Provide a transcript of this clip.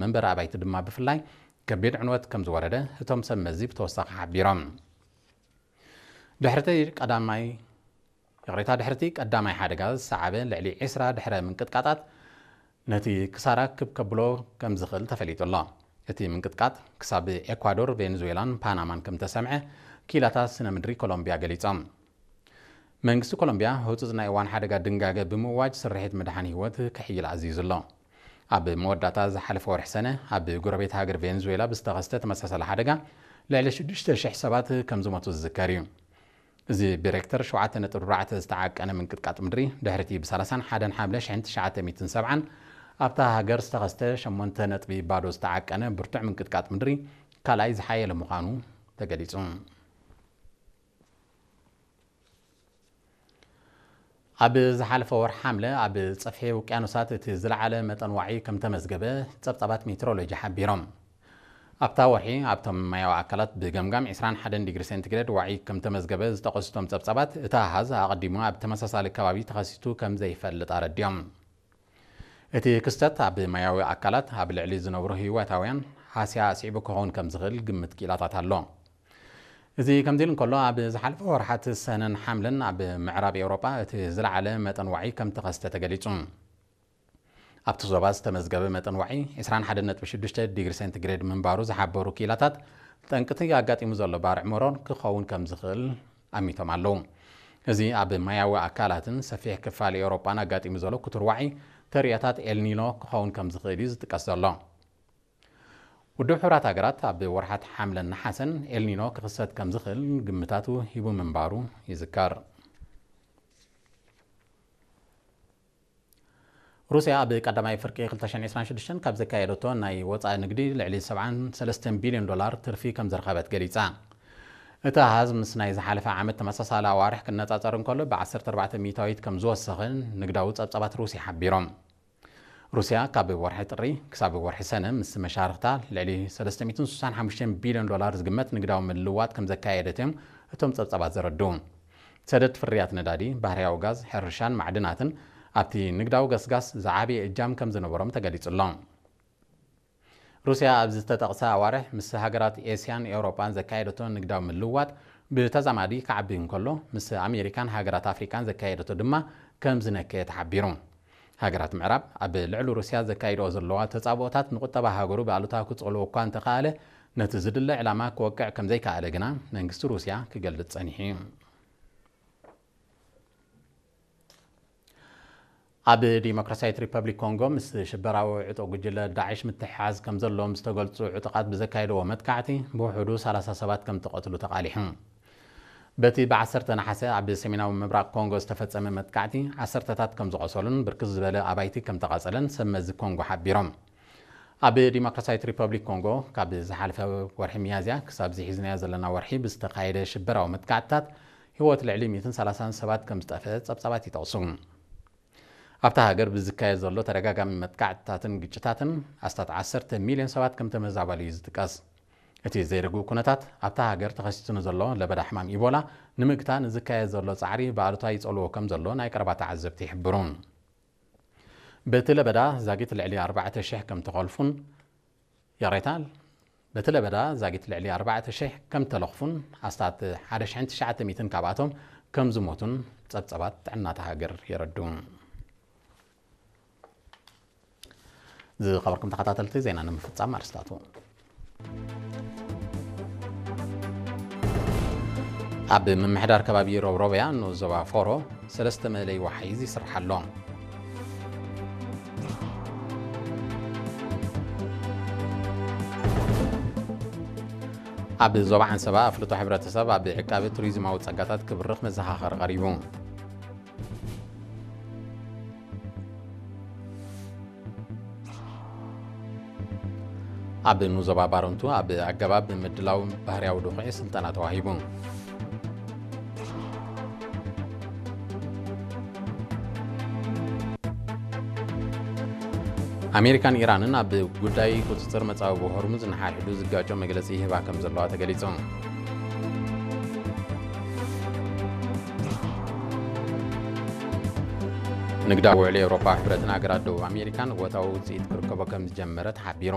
መንበሪ ኣባይቲ ድማ ብፍላይ ከቢድ ዕንወት ከም ዝወረደ እቶም ሰብ መዚ ብተወሳኺ ሓቢሮም። ድሕርቲ ቀዳማይ ይቕሬታ፣ ድሕርቲ ቀዳማይ ሓደጋ ዝሰዓበ ልዕሊ ዕስራ ድሕረ ምንቅጥቃጣት ነቲ ክሳራ ክብ ከብሎ ከም ዝኽእል ተፈሊጡ ኣሎ። እቲ ምንቅጥቃጥ ክሳብ ኤኳዶር፣ ቬንዙዌላን ፓናማን ከም ተሰምዐ ክኢላታት ስነ ምድሪ ኮሎምቢያ ገሊጾም። መንግስቲ ኮሎምቢያ ህጹጽ ናይ እዋን ሓደጋ ድንጋገ ብምእዋጅ ስርሒት ምድሓን ህይወት ክሕይል ኣዚዙ ኣሎ። ኣብ መወዳእታ ዝሓለፈ ወርሒ ሰነ ኣብ ጎረቤት ሃገር ቬንዙዌላ ብዝተኸስተ ተመሳሳሊ ሓደጋ ልዕሊ ሽዱሽተ ሽሕ ሰባት ከም ዝሞቱ ዝዝከር እዩ። እዚ ብሬክተር ሸውዓተ ነጥቢ ኣርባዕተ ዝተዓቀነ ምንቅጥቃጥ ምድሪ ድሕሪቲ ብ ሰላሳን ሓደን ሓምለ ሽሕን ትሽዓተ ሚእትን ሰብዓን ኣብታ ሃገር ዝተኸስተ ሸሞንተ ነጥቢ ባዶ ዝተዓቀነ ብርቱዕ ምንቅጥቃጥ ምድሪ ካልኣይ ዝሓየለ ምዃኑ ተገሊጹ። ኣብ ዝሓለፈ ወርሒ ሓምለ ኣብ ጸፍሒ ውቅያኖሳት እቲ ዝለዓለ መጠን ዋዒ ከም ተመዝገበ ጸብጻባት ሜትሮሎጂ ሓቢሮም። ኣብታ ወርሒ ኣብቶም ማያዊ ኣካላት ብገምጋም ዕስራን ሓደን ዲግሪ ሴንቲግሬድ ዋዒ ከም ተመዝገበ ዝጠቐሱ እቶም ጸብጻባት፣ እቲ ኣሃዝ ኣቐዲሙ ኣብ ተመሳሳሊ ከባቢ ተኸሲቱ ከም ዘይፈልጥ ኣረዲኦም። እቲ ክስተት ኣብ ማያዊ ኣካላት ኣብ ልዕሊ ዝነብሩ ህይወታውያን ሃስያ ኣስዒቡ ክኸውን ከም ዝኽእል ግምት ክኢላታት ኣሎ። እዚ ከምዚ ኢሉ እንከሎ፣ ኣብ ዝሓለፈ ወርሓት ሰነን ሓምለን ኣብ ምዕራብ ኤውሮጳ እቲ ዝለዓለ መጠን ዋዒ ከም ተኸስተ ተገሊጹ። ኣብቲ ዞባ ዝተመዝገበ መጠን ዋዒ ዕስራን ሓደን ነጥቢ ሽዱሽተ ዲግሪ ሴንቲግሬድ ምንባሩ ዝሓበሩ ክኢላታት፣ ጠንቅቲ ኣጋጢሙ ዘሎ ባርዕ መሮር ክኸውን ከም ዝኽእል ኣሚቶም ኣለዉ። እዚ ኣብ ማያዊ ኣካላትን ሰፊሕ ክፋል ኤውሮጳን ኣጋጢሙ ዘሎ ክቱር ዋዒ ተርእዮታት ኤልኒኖ ክኸውን ከም ዝኽእል እዩ ዝጥቀስ ዘሎ። ውድብ ሕቡራት ሃገራት ኣብ ወርሓት ሓምለን ነሓሰን ኤልኒኖ ክኽሰት ከም ዝኽእል ግምታቱ ሂቡ ምንባሩ ይዝከር። ሩስያ ኣብ ቀዳማይ ፍርቂ ክልተ ሽሕን ዕስራን ሽዱሽተን ካብ ዘካየደቶ ናይ ወጻኢ ንግዲ ልዕሊ ሰብዓን ሰለስተን ቢልዮን ዶላር ትርፊ ከም ዝረኸበት ገሊጻ። እቲ ኣሃዝ ምስ ናይ ዝሓለፈ ዓመት ተመሳሳሊ ኣዋርሕ ክነጻጸር እንከሎ ብ ዓሰርተ ኣርባዕተ ሚእታዊት ከም ዝወሰኸ ንግዳዊ ጸብጻባት ሩስያ ሓቢሮም። ሩስያ ካብ ወርሒ ጥሪ ክሳብ ወርሒ ሰነ ምስ መሻርኽታ ልዕሊ ሰለስተ ሚእትን ስሳን ሓሙሽተን ቢልዮን ዶላር ዝግመት ንግዳዊ ምልውዋጥ ከም ዘካየደት እዮም እቶም ጸብጻባት ዘረድኡ። ሰደድ ፍርያት ነዳዲ፣ ባህርያዊ ጋዝ፣ ሕርሻን ማዕድናትን ኣብቲ ንግዳዊ ገስጋስ ዝዓበየ እጃም ከም ዝነበሮም ተገሊጹ ኣሎ። ሩስያ ኣብ ዝተጠቕሰ ኣዋርሕ ምስ ሃገራት ኤስያን ኤውሮጳን ዘካየደቶ ንግዳዊ ምልውዋጥ ብተዛማዲ ክዓቢ እንከሎ፣ ምስ ኣሜሪካን ሃገራት ኣፍሪቃን ዘካየደቶ ድማ ከም ዝነከየ ተሓቢሩ። ሃገራት ምዕራብ ኣብ ልዕሊ ሩስያ ዘካይድኦ ዘለዋ ተጻብኦታት ንቁጠባ ሃገሩ ብኣሉታ ክጸልዎ እኳ እንተኸኣለ፣ ነቲ ዝድለ ዕላማ ክወቅዕ ከም ዘይከኣለ ግና መንግስቲ ሩስያ ክገልጽ ጸኒሑ እዩ። ኣብ ዲሞክራሲያዊት ሪፐብሊክ ኮንጎ ምስ ሽበራዊ ዕጡቕ ጉጅለ ዳዕሽ ምትሕሓዝ ከም ዘለዎም ዝተገልጹ ዕጡቓት ብዘካየድዎ መጥቃዕቲ ብውሑዱ ሰላሳ ሰባት ከም ተቐትሉ ተቓሊሑ። በቲ ብ ዓሰርተ ነሓሰ ኣብ ሰሜናዊ ምብራቕ ኮንጎ ዝተፈጸመ መጥቃዕቲ ዓሰርተታት ከም ዝቖሰሉን ብርክት ዝበለ ኣባይቲ ከም ተቓጸለን ሰብ መዚ ኮንጎ ሓቢሮም። ኣብ ዲሞክራሲያዊት ሪፐብሊክ ኮንጎ ካብ ዝሓለፈ ወርሒ ሚያዝያ ክሳብ ዝሒዝናዮ ዘለና ወርሒ ብዝተኻየደ ሽበራዊ መጥቃዕትታት ህይወት ልዕሊ ሚእትን ሰላሳን ሰባት ከም ዝጠፍአ ጸብጻባት ይጠቕሱ። ኣብታ ሃገር ብዝካየድ ዘሎ ተደጋጋሚ መጥቃዕትታትን ግጭታትን ኣስታት ዓሰርተ ሚልዮን ሰባት ከም ተመዛበሉ እዩ ዝጥቀስ። እቲ ዘይርጉእ ኩነታት ኣብታ ሃገር ተኸሲቱ ንዘሎ ለበዳ ሕማም ኢቦላ ንምግታእ ንዝካየድ ዘሎ ጻዕሪ ብኣሉታ ይጸልዎ ከም ዘሎ ናይ ቀረባ ተዓዘብቲ ይሕብሩ። በቲ ለበዳ ዛጊት ልዕሊ ኣርባዕተ ሽሕ ከም ተኸልፉን፣ ይቕሬታ፣ በቲ ለበዳ ዛጊት ልዕሊ ኣርባዕተ ሽሕ ከም ተለኽፉን ኣስታት ሓደ ሽሕን ትሽዓተ ሚእትን ካብኣቶም ከም ዝሞቱን ጸብጸባት ጥዕናታ ሃገር የረድኡ። ዝኸበርኩም ተኸታተልቲ ዜና ንምፍጻም ኣርስታቱ። ኣብ ምምሕዳር ከባቢ ሮብሮብያ ንኡስ ዞባ ፎሮ ሰለስተ መእለይ ወሓይዝ ይስራሕ ኣሎ። ኣብ ዞባ ዓንሰባ ኣፍልጦ ሕብረተሰብ ኣብ ዕቃቢ ቱሪዝማዊ ጸጋታት ክብርኽ መዘኻኸሪ ቀሪቡ። ኣብ ንዞባ ባረንቱ ኣብ ኣገባብ ምድላው ባህርያዊ ድኹዒ ስልጠና ተዋሂቡ። ኣሜሪካን ኢራንን ኣብ ጉዳይ ቁጽጽር መጻብቦ ሆርሙዝ ንሓድሕዱ ዝጋጮ መግለጺ ይህባ ከም ዘለዋ ተገሊጹ። ንግዳዊ ውዕል ኤውሮፓ፣ ሕብረትን ሃገራት ደቡብ ኣሜሪካን እወታዊ ውጽኢት ክርከቦ ከም ዝጀመረ ተሓቢሩ።